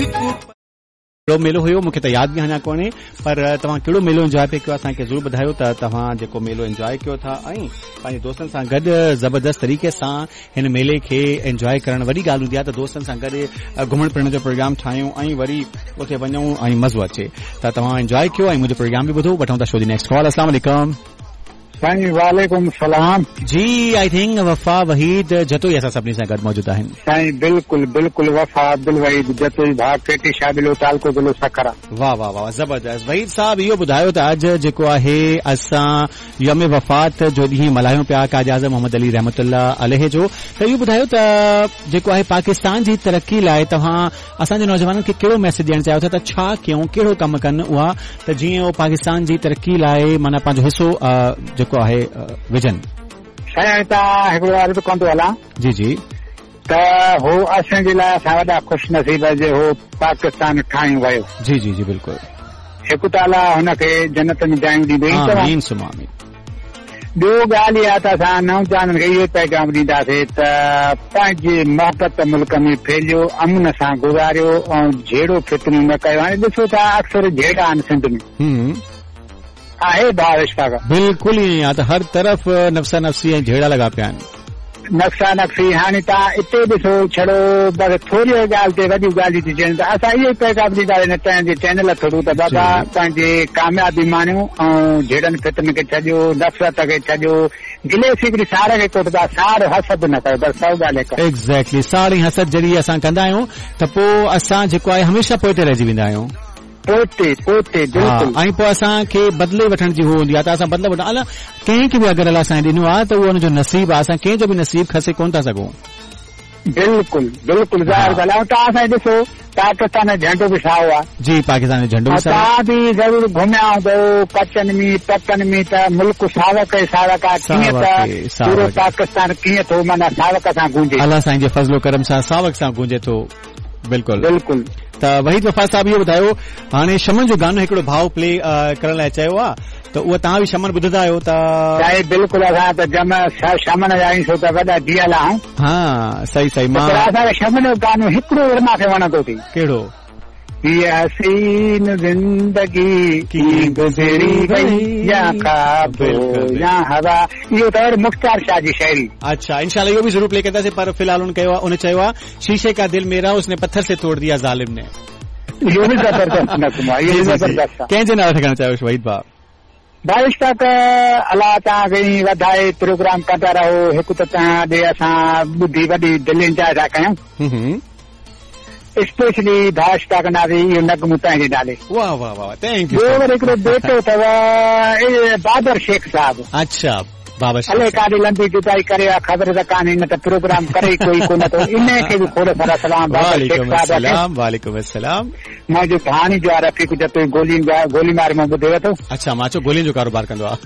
हिकु कहिड़ो मेलो हुयो मूंखे त यादि बि अञा कोन्हे, पर तव्हां कहिड़ो मेलो इंजॉय पिया कयो असांखे ज़रूरु ॿुधायो त तव्हां जेको मेलो इंजॉय कयो था ऐं पंहिंजे दोस्तनि सां गॾु ज़बरदस्त तरीक़े सां हिन मेले खे इंजॉय करणु वॾी ॻाल्हि हूंदी आहे त दोस्तनि सां गॾु घुमण फिरण जो प्रोग्राम ठाहियूं ऐं वरी उते वञूं ऐं मज़ो अचे। त तव्हां इंजॉय कयो ऐं मुंहिंजो प्रोग्राम बि ॿुधो। वठूं था शो जी नेक्स्ट कॉल। अस्सलाम वालेकुम। साईं वालेकुम सलाम। जी, I think वफ़ा वहीद जतोई असां सभिनी सां गॾु मौजूदु आहिनि। साईं बिल्कुल बिल्कुल, वफ़ा अब्दुल वहीद जतोई, भाउ केटी शाबिलो, तालको ज़िलो सखर। वाह वाह वाह, ज़बरदस्त। वहीद साहब, इहो ॿुधायो त अॼु जेको आहे असां यौम वफ़ात जो ॾींहुं मल्हायूं पिया काज़ी आज़म मोहम्मद अली रहमतुल्लाह अलैह जो, त इहो ॿुधायो त जेको आहे पाकिस्तान जी तरक़ी लाइ तव्हां असांजे नौजवाननि खे कहिड़ो मैसेज ॾियणु चाहियो था त छा कयूं, कहिड़ो कमु कनि उहा त जीअं उहो पाकिस्तान जी तरक़ी लाइ माना पंहिंजो हिसो जेको आहे विझनि। साईं तव्हां हिकिड़ो अर्ज़ु कंदो हलां। जी जी। त हो असांजे लाइ असां वॾा ख़ुशि नसीब जे हो पाकिस्तान ठाहियो वियो। जी जी जी बिल्कुलु। हिकु त अलाह हुनखे जन्नत में जायूं ॾींदो ई। आमीन सुम आमीन। ॿियो ॻाल्हि इहा त असां नौजवाननि खे इहो पैगाम ॾींदासीं त पंहिंजी मोहबत मुल्क में फैलियो, अमन सां गुज़ारियो ऐं झेड़ो फितनो न कयो। हाणे ॾिसो था अक्सर झेड़ा आहिनि सिंध में, आहे भाउ इश्फाक? बिल्कुलु ईअं आहे त हर तरफ़ नफ़्सा नफ़्सी ऐं झेड़ा लॻा पिया आहिनि। नफ़्सा नफ़्सी। हाणे तव्हां हिते ॾिसो छड़ो बसि थोरी ॻाल्हि ते वॾियूं ॻाल्हियूं थी थियनि। त असां इहो ई पैगाम ॾींदासीं तव्हांजे चैनल थ्रू त बाबा पंहिंजी कामयाबी माणियो ऐं झेड़नि फितन खे छॾियो, नफ़रत खे छॾियो, गिले हिकिड़ी साड़ खे कोठंदा, साड़ हसद न कयो, बसि सौ ॻाल्हि हिकु। एग्ज़ैक्टली, साड़ ऐं हसद जॾहिं असां कंदा आहियूं त पोइ असां जेको आहे हमेशह पोइते रहिजी वेंदा आहियूं। पोइते पोइते बिल्कुलु। ऐं पोइ असांखे बदिले वठण जी हूंदी आहे त असां बदिले वठण अलाह कंहिंखे बि अगरि अलाह साईं ॾिनो आहे त उहो हुनजो नसीब आहे, असां कंहिंजो बि नसीब खसे कोन था सघूं। बिल्कुलु बिल्कुलु, ज़ाहिर ॻाल्हि आहे। तव्हां साईं ॾिसो पाकिस्तान जो झंडो बि साओ आहे। जी, पाकिस्तान जो झंडो बि साओ। तव्हां बि ज़रूरु घुमिया हूंदव कचनि में पकनि में, त मुल्क सावक ई सावक आहे। कीअं त पूरो पाकिस्तान कीअं थो माना सावक सां गूंजे, अलाह साईं जे फज़लो करम सां सावक सां गूंजे थो। बिल्कुलु बिल्कुलु। त वहीद वफ़ा साहब इहो ॿुधायो, हाणे शमन जो गानो हिकिड़ो भाउ प्ले करण लाइ चयो आहे त उहो तव्हां बि शमन ॿुधंदा आहियो त? साईं बिल्कुलु, असां त जम शमन जा आहियूं, छो त वॾा जियल आहियूं। हा सही सही। मां असांखे शमन जो गानो हिकिड़ो वरी मूंखे वणंदो थी। कहिड़ो? ये हसीन ज़िंदगी की गुज़री वई या ख़्वाब या हवा, इहो त वरी मुख्तार शाह जी शाइरी। अच्छा, इंशाल्लाह इहो बि ज़रूरु प्ले कंदासीं, पर फ़िलहाल उन चयो आहे शीशे का दिल मेरा उसने पत्थर से तोड़ दिया ज़ालिम ने। इहो बि ज़बरदस्त नग़मो आहे, इहो बि ज़बरदस्त आहे। कंहिंजे नाले था करणु चाहियो वहीद भाउ? भाई इश्ताक, अलाह तव्हांखे ई वधाए, प्रोग्राम कंदा रहो। हिकु त तव्हां ॾे असां ॿुधी वॾी दिलि इंजॉय था कयूं। स्पेशली भाउ इश्ताक नाज़ी इहो नग़मो तव्हांजे नाले। वाह वाह वाह, thank you. ॿियो वरी हिकिड़ो बेटो अथव बाबर शेख साहब। अच्छा, बाबर शेख। अलाए काॾे लंबी जुदाई करे आहे, ख़बर त कान्हे, न त प्रोग्राम करे ई कोई कोन थो। इन खे बि खोड़ सारा सलाम बाबर शेख साहब। वालेकुम अस्सलाम। मुंहिंजो भाणीजो आहे रफ़ीक जतोई, गोली मार मां ॿुधे वरितो। अच्छा, मां चयो गोलियुनि जो कारोबार कंदो आहे।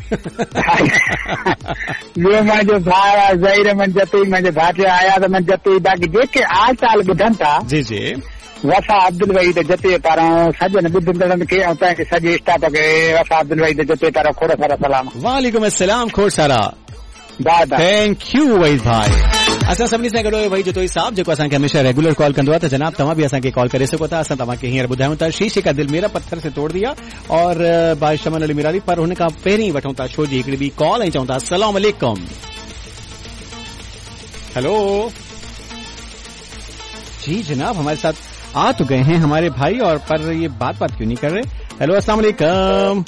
ॿियो मुंहिंजो भाउ आहे ज़हीर अहमद जतोई, मुंहिंजो भाटियो अयाज़ अहमद जतोई। बाक़ी जेके आल ताल ॿुधनि था, जी जी, वफ़ा अब्दुल वहीद जतोई पारां सॼनि ॿुधंदड़नि खे ऐं तव्हांखे सॼे स्टाफ खे वफ़ा अब्दुल वहीद जतोई पारां खोड़ सारा सलाम। वालेकुम अस्सलाम, खोड़ सारा। Bye bye. Thank you Waheed भाई। असां सभिनी सां गॾु वहीद जतोई साहब जेको असांखे हमेशह रेगुलर कॉल कंदो आहे। त जनाब तव्हां बि असांखे कॉल करे सघो था। असां तव्हांखे हींअर ॿुधायूं था शीशे का दिल मेरा पत्थर से तोड़ दिया और भाई शमन अली मिराली, पर हुन खां पहिरीं वठूं था शो जी हिकिड़ी ॿी कॉल ऐं चऊं था अस्सलाम वालेकुम। हेलो जी जनाब, हमारे साथ आ तो गए हैं हमारे भाई और पर ये बात क्यों नहीं कर रहे। हेलो अस्सलाम वालेकुम।